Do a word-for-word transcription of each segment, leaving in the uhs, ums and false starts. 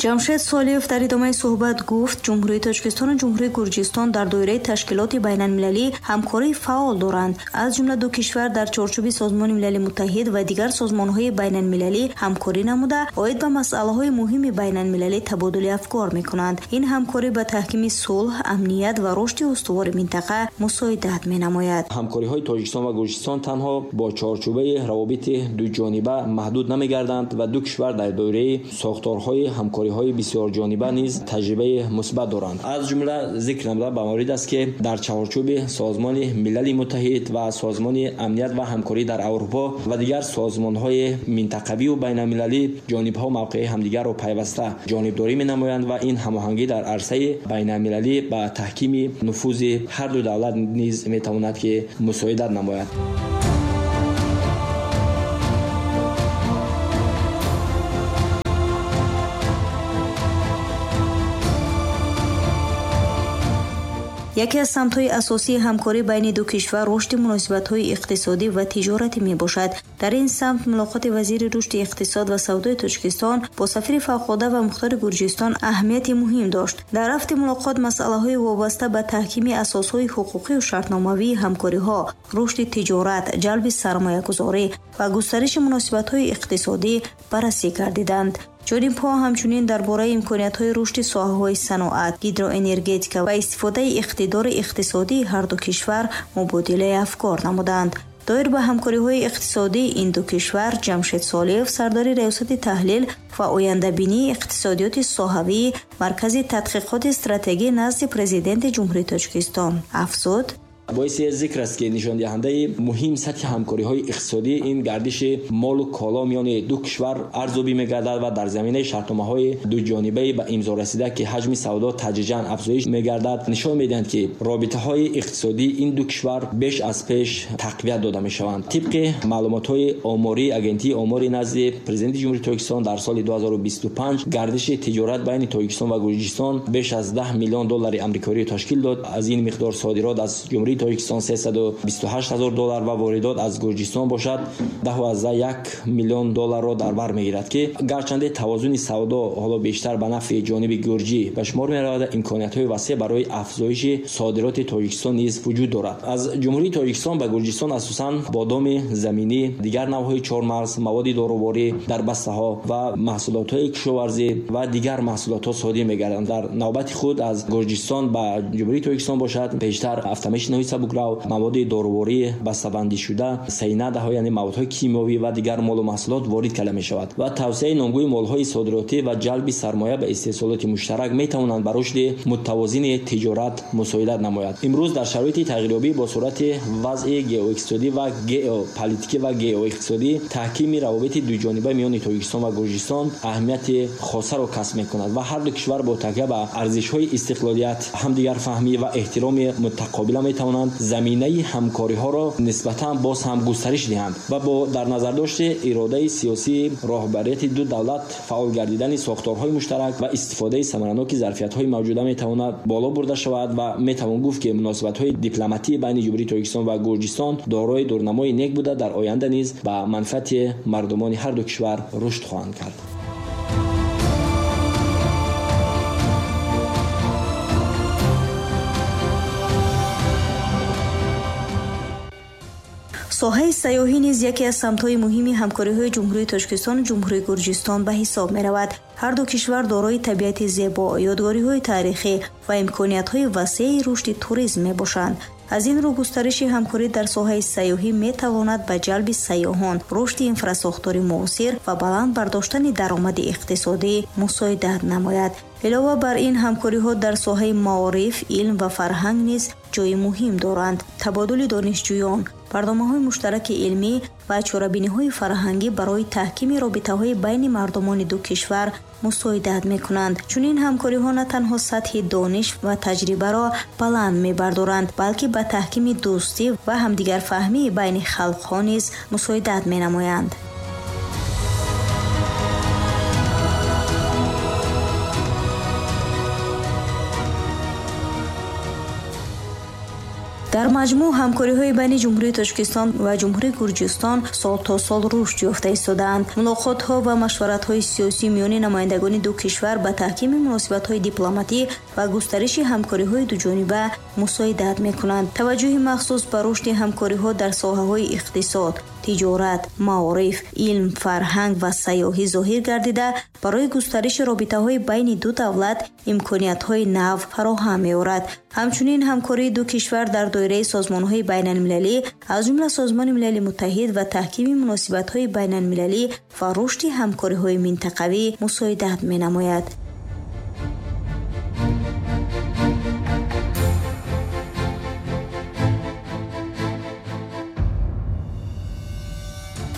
Ҷамшед Солиев дар идомаи суҳбат гуфт, Ҷумҳурии Тоҷикистон ва Ҷумҳурии Гурҷистон дар доираи ташкилоти байналмилалӣ ҳамкории фаъол доранд. Аз ҷумла ду кишвар дар чорчӯби Созмони Милали Муттаҳид ва дигар созмонҳои байналмилалӣ ҳамкорӣ намуда, оид ба масъалаҳои муҳими байналмилалӣ табодули афкор мекунанд. Ин ҳамкорӣ ба таҳкими сулҳ, амният ва рушди устувори минтақа мусоидат менамояд. Ҳамкориҳои Тоҷикистон ва Гурҷистон танҳо бо чорчӯбаи равобити дуҷониба маҳдуд намегарданд ва ду кишвар дар доираи сохторҳои ҳамкориҳои бисёрҷониба низ таҷрибаи мусбат доранд. Аз ҷумла зикр намуда ба маврид аст, ки дар чаҳорчӯби Созмони Милали Муттаҳид ва Созмони Амният ва ҳамкорӣ дар Аврупо ва дигар созмонҳои минтақавию байналмилалӣ ҷонибҳо мавқеи ҳамдигарро пайваста ҷонибдорӣ менамоянд ва ин ҳамоҳангӣ дар арсаи байналмилалӣ ба таҳкими нуфузи ҳар ду давлат низ метавонад, ки мусоидат намояд. Яке аз самтҳои асосии ҳамкорӣ байни ду кишвар рушди муносибатҳои иқтисодӣ ва тиҷоратӣ мебошад. Дар ин самт мулоқоти вазири рушди иқтисод ва савдои Тоҷикистон бо сафири фавқулода ва мухтори Гурҷистон аҳамияти муҳим дошт. Дар рафти мулоқот масъалаҳои вобаста ба таҳкими асосҳои ҳуқуқию шартномавии ҳамкориҳо, рушди тиҷорат, ҷалби сармоягузорӣ ва густариши муносибатҳои иқтисодӣ баррасӣ гардиданд. Ҷонибҳо ҳамчунин дар бораи имкониятҳои рушди соҳаҳои саноат, гидроэнергетика ва истифодаи иқтидори иқтисодии ҳар ду кишвар мубодилаи афкор намуданд. Доир ба ҳамкориҳои иқтисодии ин ду кишвар Ҷамшед Солиев, сардори Раёсати таҳлил ва ояндабинии иқтисодиёти соҳавии Маркази тадқиқоти стратегӣ назди Президенти Ҷумҳурии Тоҷикистон афзуд: боиси зикр аст, ки нишондиҳандаи муҳим сатҳи ҳамкориҳои иқтисодӣ ин гардиши молу коло миёни ду кишвар арзёбӣ мегардад ва дар заминаи шартномаҳои дуҷонибаи ба имзо расида, ки ҳаҷми савдо тадриҷан афзоиш мегардад, нишон медиҳанд, ки робитаҳои иқтисодии ин ду кишвар беш аз пеш тақвият дода мешаванд. Тибқи маълумотҳои омории Агентии омори назди Президенти Ҷумҳурии Тоҷикистон дар соли ду ҳазору бисту панҷ гардиши тиҷорат байни Тоҷикистон ва Гурҷистон беш аз даҳ миллион доллари амрикоӣ ташкил дод. Аз ин миқдор содирот аз Ҷумҳурии Тоҷикистон сесаду бисту ҳашт ҳазор доллар ва воридот аз Гурҷистон бошад даҳ як миллион долларро дар бар мегирад, ки гарчанде тавозуни савдо ҳоло бештар ба нафъи ҷониби гурҷӣ ба шумор меравад, имкониятҳои васеъ барои афзоиши содироти Тоҷикистон низ вуҷуд дорад. Аз Ҷумҳурии Тоҷикистон ба Гурҷистон асосан бодоми заминӣ, дигар навъҳои чормағз, маводи доруворӣ дар бастаҳо ва маҳсулотҳои кишоварзӣ ва дигар маҳсулотҳо содир мегарданд. Дар навбати худ аз Гурҷистон ба Ҷумҳурии Тоҷикистон бошад бештар автомашинаҳои сабукрав, маводи доруворӣ бастабандишуда, сайнадаҳо, яъне маводҳои кимиёвӣ ва дигар молу маҳсулот ворид карда мешавад ва тавсияи номгӯи молҳои содиротӣ ва ҷалби сармоя ба истеҳсолоти муштарак метавонанд ба рушди муттавозини тиҷорат мусоидат намояд. Имрӯз дар шароити тағйирёбӣ бо суръати вазъи геоиқтисодӣ ва геополитикӣ ва геоиқтисодӣ таҳкими равобити дуҷониба миёни Тоҷикистон ва Гурҷистон аҳамияти хосаро касб мекунад ва ҳар ду кишвар бо такя ба арзишҳои истиқлолият, ҳамдигарфаҳмӣ ва эҳтироми мутақобила метавонанд заминаи ҳамкориҳоро нисбатан боз ҳам густариш диҳанд ва бо дар назардошти иродаи сиёсии роҳбарияти ду давлат фаъол гардидани сохторҳои муштарак ва истифодаи самараноки зарфиятҳои мавҷуда метавонад боло бурда шавад ва метавон гуфт, ки муносибатҳои дипломатӣ байни Ҷумҳурии Тоҷикистон ва Гурҷистон дорои дурнамои нек буда, дар оянда низ ба манфиати мардумони ҳар ду кишвар рушд хоҳанд кард. Соҳаи сайёҳӣ низ яке аз самтҳои муҳими ҳамкориҳои Ҷумҳурии Тоҷикистону Ҷумҳурии Гурҷистон ба ҳисоб меравад. Ҳар ду кишвар дорои табиати зебо, ёдгориҳои таърихӣ ва имкониятҳои васеи рушди туризм мебошанд. Аз ин рӯ густариши ҳамкорӣ дар соҳаи сайёҳӣ метавонад ба ҷалби сайёҳон, рушди инфрасохтори муосир ва баланд бардоштани даромади иқтисодӣ мусоидат намояд. Илова бар ин, ҳамкориҳо дар соҳаи маориф, илм ва фарҳанг низ ҷои муҳим доранд. Табодули донишҷӯён, барномаҳои муштараки илмӣ ва чорабиниҳои фарҳангӣ барои таҳкими робитаҳои байни мардумони ду кишвар мусоидат мекунанд. Чунин ҳамкориҳо на танҳо сатҳи дониш ва таҷрибаро баланд мебардоранд, балки ба таҳкими дӯстӣ ва ҳамдигарфаҳмии байни халқҳо низ мусоидат менамоянд. Дар маҷмӯъ ҳамкориҳои байни Ҷумҳурии Тоҷикистон ва Ҷумҳурии Гурҷистон сол то сол рушд ёфта истодаанд. Мулоқотҳо ва машваратҳои сиёсӣ миёни намояндагони ду кишвар ба таҳкими муносибатҳои дипломатӣ ва густариши ҳамкориҳои дуҷониба мусоидат мекунанд. Таваҷҷӯҳи махсус ба рушди ҳамкориҳо дар соҳаҳои иқтисод, тиҷорат, маориф, илм, фарҳанг ва сайёҳӣ зоҳир гардида, барои густариши робитаҳои байни ду давлат имкониятҳои нав фароҳам меорад. Ҳамчунин ҳамкории ду кишвар дар доираи созмонҳои байналмилалӣ, аз ҷумла Созмони Милали Муттаҳид ва таҳкими муносибатҳои байналмилалӣ ва рушди ҳамкориҳои минтақавӣ мусоидат менамояд.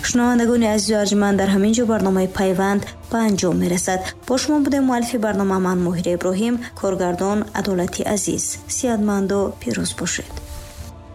Шунавандагони азизу арҷманд, дар ҳамин ҷо барномаи Пайванд ба анҷом мерасад. Бо шумо будем муаллифи барнома ман Моҳира Иброҳим, коргардон Адолати Азиз. Сиҳатманду пирӯз бошед.